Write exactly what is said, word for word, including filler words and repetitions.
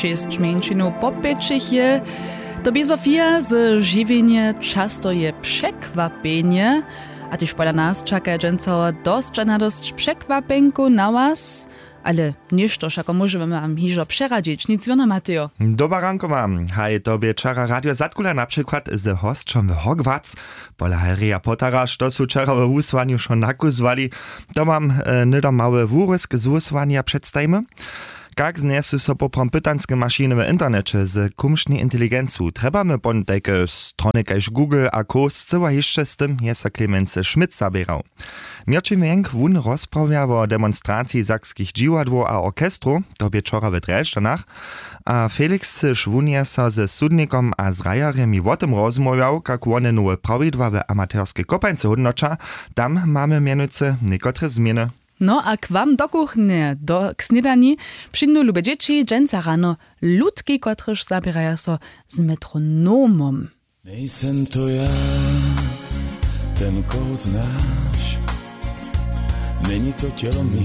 Šěsć mjeńšinow popjećich je. To bě Sofija, z žiwjenje často je překwapjenje. A tež pola nas čakaja dźensa dosć a nadosć překwapjenkow na was. Ale něšto wšako móžemy wam hižo přeradźić, nic wěrno, Matejo. Doba rankowa. Haj, to bě wčera radio zadkula na přikład z hosćom w Hogwarts. Pola Harryja Pottera, što su wčera we wusłanju wšo nakuzłali, to wam e, hnydom mały wurězk z wusłanja předstajimy. Kak znjesu so poprawom pytanske mašiny w interneće z kumšnej inteligencu? Trjebamy pon tajke strony kaž Google a co? Scyła hišće z tym je so Clemens Schmidt zaběrał. Měrćin Wjenk wón rozprawja wo demonstraciji sakskich dźiwadłow a orchestrow, to bě wčora w Drježdźanach. A Felix Šwun je so ze sudnikom a zhrajerjemi wo tym rozmołwjał, kak wone nowe prawidła w amaterskej kopańce hódnoća. Tam mamy mjenujcy někotre změny. No a k wam do kuchnje do k snědani přińdu lube dźěći dźensa rano lutki, kotrež zaběraja so z metronomom. Nejsem to ja, ten, koho znaš. Měni to tělo mi.